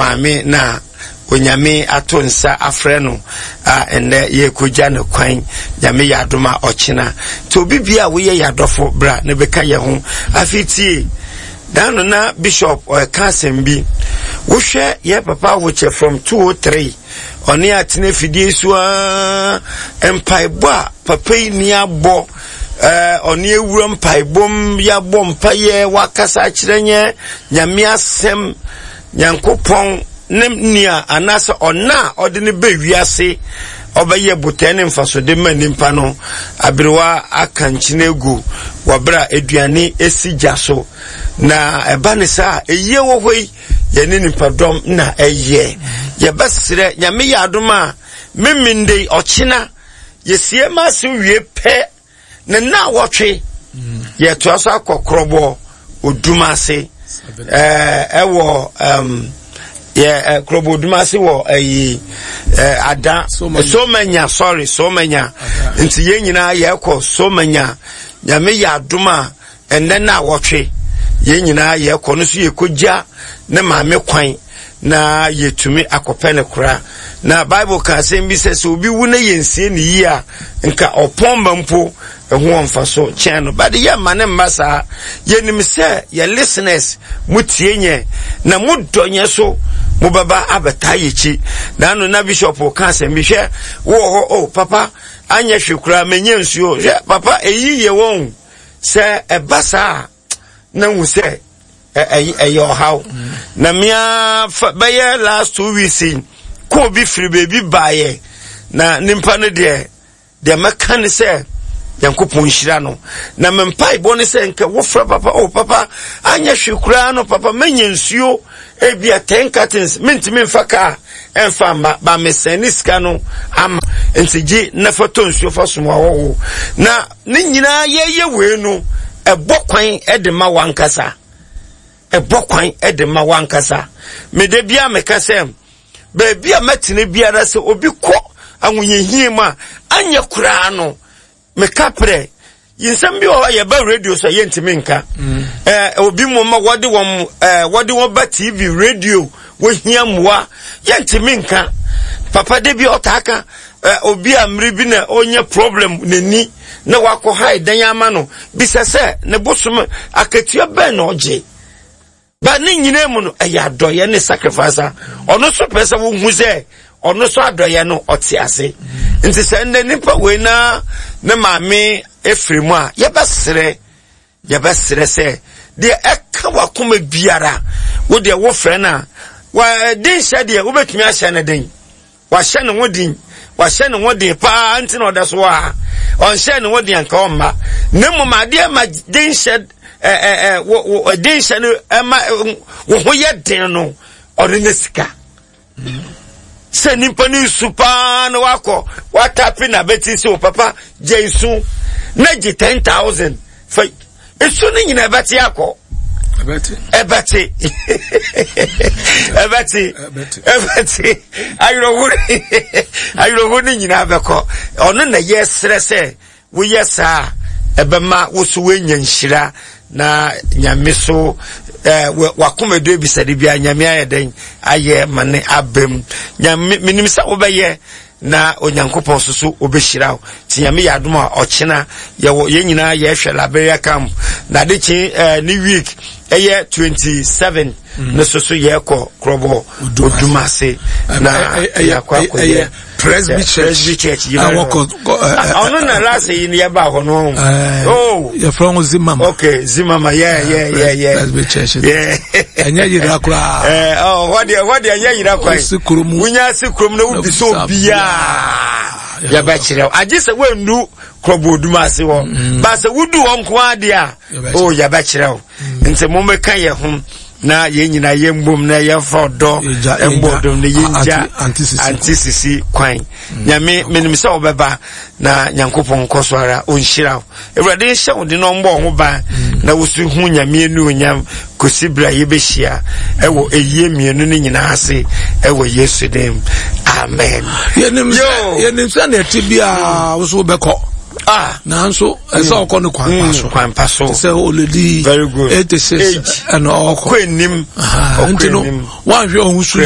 Maame na Onyame ato nsa afrɛ no a ɛnnɛ yɛrekɔgya no kwan, Nyame yɛ adom a ɔkyena. Nti obi bia a woyɛ yɛ adɔfo bra na bɛka yɛ ho. Afei tie, da no na Bishop ɔreka asɛm bi. Wohwɛ yɛ papa ahokyɛ from 203, ɔne atena afidie so a mpaebɔ a papa yi ni abɔ, ɔne awura mpaebom, yɛabɔ mpaeɛ, wakasa akyerɛ nyɛ Nyame asɛm. Nyankopɔn ne nea anaasɛ ɔna a ɔde no bɛ wiase ɔbɛyɛ botae ne mfasode ma nnipa no aberewa aka nkyene agu wɔ berɛ a aduane si gya so na ɛba ne saa ɛyie wɔ hɔ yi yɛne nipadɔm na ɛyɛ yɛbɛserɛ Nyame yɛ adom a memende ɔkyena yɛsie ma ase wie pɛ Ne nnawɔtwe yɛtoa so akɔ korɔbɔ odum ase ɛwɔ yɛ korɔbɔ odum ase wɔ ɛyi ada somanya sorry somanya nti yɛn nyinaa yɛkɔ somanya nyame yɛ adom a ɛnɛ nnawɔtwe yɛn nyinaa yɛkɔ no so yɛkɔgya ne maame kwan na yɛtumi akɔpɛ no kora na bible ka asɛm bi sɛ sɛ obi wu na yɛnsie ne yie a nka ɔpɔn ma mpo ɛho wɔ mfaso kyɛn no bade yɛ mma ne mma saa yɛnim sɛ yɛ listeners mo tie nyɛ na mo dɔ nyɛ so mobɛba abɛtaa yɛkyi na ano na bishop ka asɛm bi hwɛ wowɔ hɔ o oh, papa anyɛ hwe koraa menyɛ nsuo hwɛ papa ɛyi yɛ wɔn sɛ ɛba saa na hu sɛ ɛyɛ ɔhaw na mmea bɛyɛ last 2 weeks yi kɔɔ bi firi baabi baeɛ na nipa no deɛ deɛ mɛka ne sɛ nyankopɔn nhyira no na me mpaebɔ ne sɛ nka wofrɛ papa o oh, papa anyɛ hwe koraa no papa mɛnya nsuo ebia 10 cartons mentumi mfa kaa ɛmfa mma ba mesɛn ne sika no ama nti gye na fa tɔ nsuo fa som ahɔho na ne nyinaa yɛyɛ wei no ɛbɔ kwan de ma wankasa ɛbɔ kwan de ma wankasa mede bia meka sɛ baabi a mɛtena biara sɛ obi kɔ ahohiahia mu a anyɛ koraa no meka prɛ nsɛm bi wɔ hɔ a yɛba radio so a yɛntumi nka mm. eh, obi mu ma wɔde wɔn eh, wɔde wɔn ba tv radio wɔhia mmoa yɛntumi nka papa de bi ɔtaa ka eh, obi a mmere bi na ɔnya problem n'ani na wakɔ ha dan ama no bisa sɛ ne bosom akatua bɛn na ɔgye Ba ne nyinaa mu no, ɛyɛ adɔeɛ ne sacrifice a ɔno nso pɛ sɛ wohu sɛ ɔno nso adɔeɛ no ɔte ase. Nti sɛ nnɛ nipa wei na ne maame efiri mu a, yɛbɛsrɛ yɛbɛsrɛ sɛ deɛ ɛka wakoma biara wo deɛ wofrɛ no a wa den hyɛ deɛ wobɛtumi ahyɛ no den. Wahyɛ ne ho den, wahyɛ ne ho den paa nti na ɔda so wɔ ha. Ɔnhyɛ ne ho den anka ɔmma. Na mmom adeɛ ma den hyɛ ɛɛ ɛɛ den hyɛ no ɛma wo ho yɛ den no ɔno ne sika. Sɛ nipa no nsu paa na wakɔ watape na abɛti sɛ o papa gye nsu na gye 10,000 fa nsu no nyina ɛbɛte akɔ ɛbɛte ɛbɛte ɛbɛte awerɛho awerɛho no nyinaa bɛkɔ ɔno na yɛsrɛ sɛ woyɛ saa ɛbɛma wo so woanya nhyira na nyame so eh, wakoma du abisade bia nyame ayɛ dɛn ayɛ ma ne abam nyame menim sɛ wobɛyɛ na Onyankopɔn nso so ɔbɛhyira wo. Nti Nyame yɛ adom a ɔkyena yɛwɔ yɛn nyinaa yɛhwɛ Liberia camp na ade kye eh, ne week ɛyɛ 27 mm. no so so yɛkɔ korɔbɔ odumase na yɛakɔ akɔyɛ Presby Church Presby Church yi ɔno na last yi ni yɛba hɔ no oh yɛfrɛ ho Zimama okay Zimama yeah yeah yeah yeah Presby Church yeah ɛnyɛ yira koraa ɛɛ ɔ hɔ deɛ hɔ deɛ ɛnyɛ yira kwan wonya si kurom na wobi so obiara yɛbɛkyerɛ wo agye sɛ woandu kurɔbɔ odum ase hɔ mm. ba sɛ wodu hɔ nko ara deɛ a o oh, yɛbɛkyerɛ wo mm. nti mommɛka yɛ ho na yɛn nyinaa yɛmbom na yɛmfa ɔdɔ mbɔ ɔdɔm na yɛngya ante sisi kwan mm. Nyame menim sɛ wobɛba na Nyankopɔn nkɔ so ara ɔnhyira wo Awurade nhyɛ wo de na ɔmbɔ ho ban mm. na woso hu Nyame anuonyam kɔsi berɛ a yɛbɛhyia ɛwɔ ɛyie mmienu no nyinaa ase ɛwɔ Yesu din amen. Yɛnim sɛ na ɛte biaa wo so wobɛkɔ. Ah. Nanso ɛsɛ mm. ɔkɔ no kwan pa so. Mm, kwan pa so. Te sɛ oledi. Very good. 86 ɛna ɔkɔ. Kɔ anim. Nti no wanhwɛ ɔho so yie.